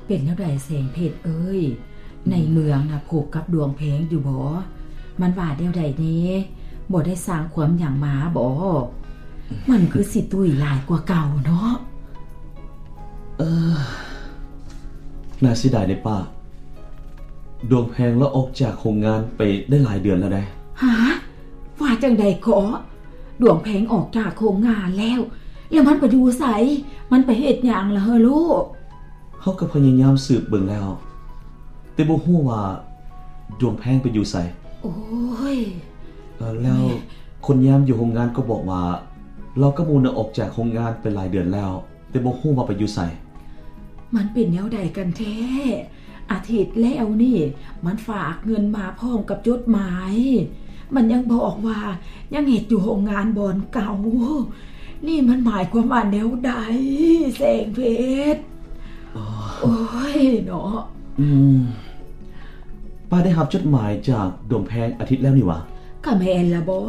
ເປັນແນວໃດແສງເພັດເອີຍ? ໃນເມືອງນະພົບກັບດວງແພງຢູ່ບໍ່? ມັນວ່າແນວໃດແດ່? ບໍ່ໄດ້ສ້າງຄວາມຫຍັງມາບໍ່? ມັນຄືຊິຕຸ້ຍຫຼາຍກວ່າເກົ່າເນາະ. ເອີ ໜ້າເສຍດາຍເດ້ປ້າ. ດວງແພງລາວອອກຈາກໂຮງງານໄປໄດ້ຫຼາຍເດືອນແລ້ວໃດ໋. ຫາ? ວ່າຈັ່ງໃດເກາະ? ດວງແພງອອກຈາກໂຮງງານແລ້ວ? ແລ້ວມັນໄປຢູ່ໃສ? ມັນໄປເຮັດຫຍັງລະເຮີລູກ? ເຮົາກໍພະຍາຍາມສືບເບິ່ງແລ້ວ ແຕ່ບໍ່ຮູ້ວ່າດວງແພງໄປຢູ່ໃສ. ໂອ້ຍ ເອີ ແລ້ວຄົນຍາມຢູ່ໂຮງງານກໍບອກວ່າ ລາວກັບໝູ່ນະອອກຈາກໂຮງງານໄປຫຼາຍເດືອນແລ້ວ ແຕ່ບໍ່ຮູ້ວ່າໄປຢູ່ໃສ. ມັນເປັນແນວໃດກັນແທ້? ອາທິດແລ້ວນີ້ ມັນຝາກເງິນມາພ້ອມກັບຈົດໝາຍ. ມັນຍັງບອກວ່າຍັງເຮັດຢູ່ໂຮງງານບ່ອນເກົ່າ. ນີ້ມັນໝາຍຄວາມວ່າແນວໃດ ແສງເພັດ? ໂອ້ຍເນາະ. ອືມ ປ້າໄດ້ຮັບຈົດໝາຍຈາກດວງແພງອາທິດແລ້ວນີ້ຫວາ? ກະແມ່ນລະບໍ.